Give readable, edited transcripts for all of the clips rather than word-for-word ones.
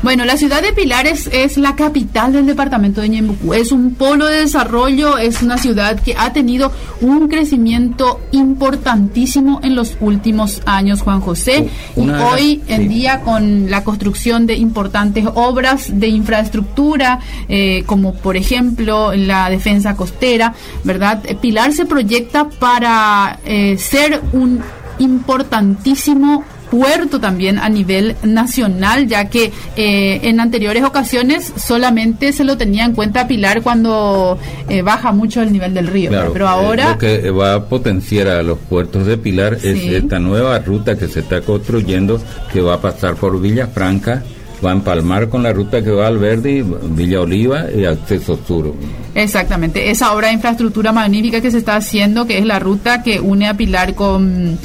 Bueno, la ciudad de Pilar es la capital del departamento de Ñeembucú. Es un polo de desarrollo, es una ciudad que ha tenido un crecimiento importantísimo en los últimos años, Juan José. Y hoy en día, con la construcción de importantes obras de infraestructura, eh, como por ejemplo la defensa costera, ¿verdad? Pilar se proyecta para eh, ser un importantísimo puerto también a nivel nacional, ya que eh, en anteriores ocasiones solamente se lo tenía en cuenta Pilar cuando eh, baja mucho el nivel del río. Pero eh, ahora... lo que va a potenciar a los puertos de Pilar es esta nueva ruta que se está construyendo, que va a pasar por Villa Franca, va a empalmar con la ruta que va al Verde, Villa Oliva y acceso sur. Exactamente, esa obra de infraestructura magnífica que se está haciendo, que es la ruta que une a Pilar con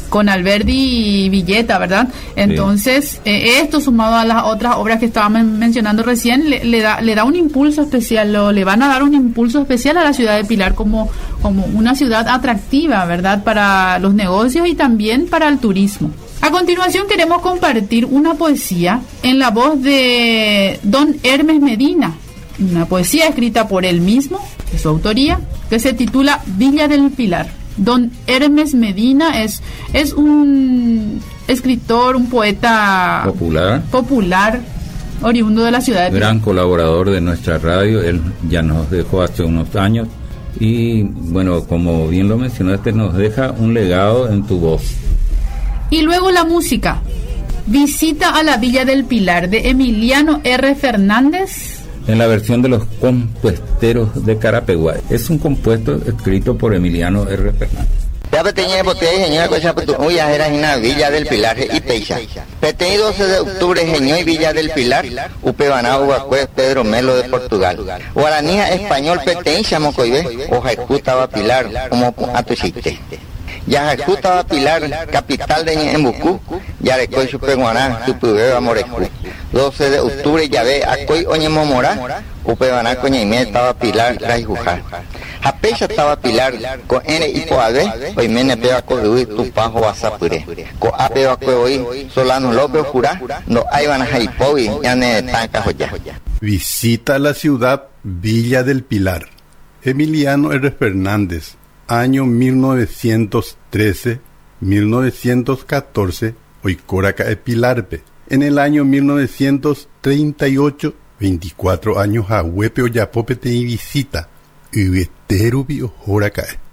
con Alberdi y Villeta, ¿verdad? Entonces, eh, esto sumado a las otras obras que estábamos mencionando recién, le, da, le da un impulso especial, o le van a dar un impulso especial a la ciudad de Pilar como, como una ciudad atractiva, ¿verdad? Para los negocios y también para el turismo. A continuación queremos compartir una poesía en la voz de don Hermes Medina, una poesía escrita por él mismo, de su autoría, que se titula Villa del Pilar. Don Hermes Medina es, es un escritor, un poeta popular, popular oriundo de la ciudad de Gran colaborador de nuestra radio, él ya nos dejó hace unos años y bueno, como bien lo mencionaste, nos deja un legado en tu voz. Y luego la música. Visita a la Villa del Pilar de Emiliano R. Fernández en la versión de los compuesteros de Carapeguá. Es un compuesto escrito por Emiliano R. Fernández. Villa del Pilar y Peixa. Peteĩ 12 de octubre heñói Villa del Pilar, upevarã oguakue Pedro Melo de Portugal. Guarani ha español peteĩcha mokõive ohayhu táva Pilar omopu'ã tuichaite. Jahayhu táva Pilar, capital de Ñe'ẽmbuku, jareko ichupe g̃uarã hypyvéva mborayhu. 12 de octubre jave akói oñemomorã, upevarã ko ñaime táva Pilar rayhuha. Ha péicha táva Pilar, ko'ẽre ipo'ave, oiméne péva ko yvy Tupã hovasapyre. Ko'ápe va'ekue voi Solano López ojura ndo'áivarãha ipógui ñane retã kahoja. Visita la ciudad Villa del Pilar. Emiliano R. Fernández, año 1913, 1914, oikóraka'e Pilar-pe. En el año 1938, 24 años haguépe ojapo peteĩ visita yvyete rupi ohóraka'e.